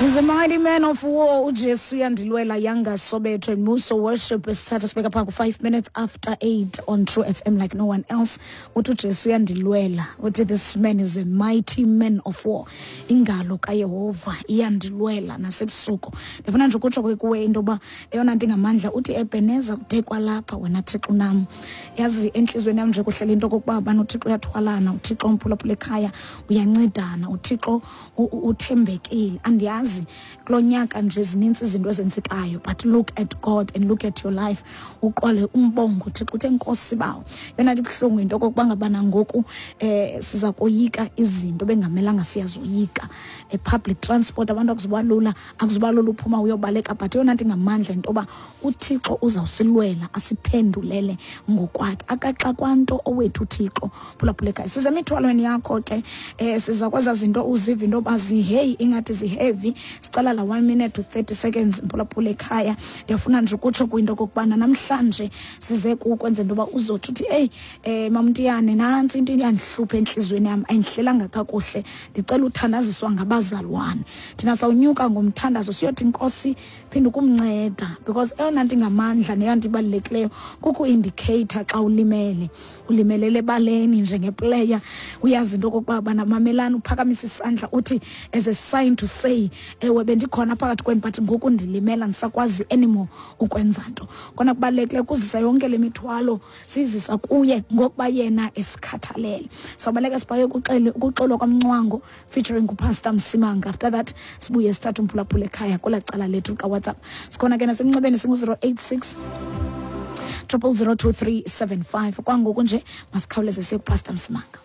He's a mighty man of war. UJesu uyandilwela. Yanga Sobeto and Muso Worship isithatha sibeka phaa ku-5 minutes after 8 on True FM like no one else. Uthi uJesu uyandilwela. Uthi this man is a mighty man of war. Ingalo kaYehova iyandilwela nasebusuku. Ndifuna nje ukutsho ke kuwe into yoba eyona nto ingamandla uthi Ebeneza kude kwalapha wena Thixo unam. Yazi entliziyweni yam nje kuhlele into okokuba bana uThixo uyathwalana, uThixo umphulaphula ekhaya uyancedana, uThixo uthembekile. Andiyazi kulo nyaka nje zinintsi izinto ezenzekayo, but look at God and look at your life, uqwale umbongo uThixo uthe Nkosi bawo. Yona nto ibuhlungu yinto okokuba ngabana ngoku siza koyika izinto bengamelanga siyazoyika. Public transport abantu akuzuba lula, akuzuba lula uphuma uyobaleka, but eyona nto ingamandla yinto yoba uThixo uzawusilwela asiphendulele ngokwakhe. Akaxakwa nto owethu uThixo. Phulaphula ekhaya, siza emithwalweni yakho ke, siza kweza zinto uziva into yoba ziheyi ingathi ziheavy. Sicela la 1 minute to 30 seconds mphulaphula ekhaya. Ndiyafuna nje ukutsho kwinto okokubana namhlanje size kukwenza into yoba uzothi uthi eyi, Mamntiyane, nantsi into iyandihlupha entliziyweni yam, ayindihlelanga kakuhle, ndicela uthandaziswa ngabazalwane. Thina sawunyuka ngomthandazo siyothi Nkosi phinde ukumnceda, because eyona nto ingamandla neyona nto ibalulekileyo kuku-indicator xa ulimele, ulimelele ebaleni njengeplayer, uyazi into okokuba bana mamelani, uphakamisa isandla uthi as a sign to say ewe bendikhona phakathi kwenu but ngoku ndilimela ndisakwazi anymore ukwenza nto. Kona kubalulekileyo ukuzisa yonke le mithwalo sizisa kuye ngokuba yena esikhathalele. Sawubaleka sibhaye ukuxolwa kwaMncwango featuring uPastor Msimanga. After that sibuye sithathe umphulaphula ekhaya kwelaa cala lethu likaWhatsApp. Sikhona ke nasemnxebeni singu-086 0002375. Kwangoku nje masikhawuleze siye kuPastor Msimanga.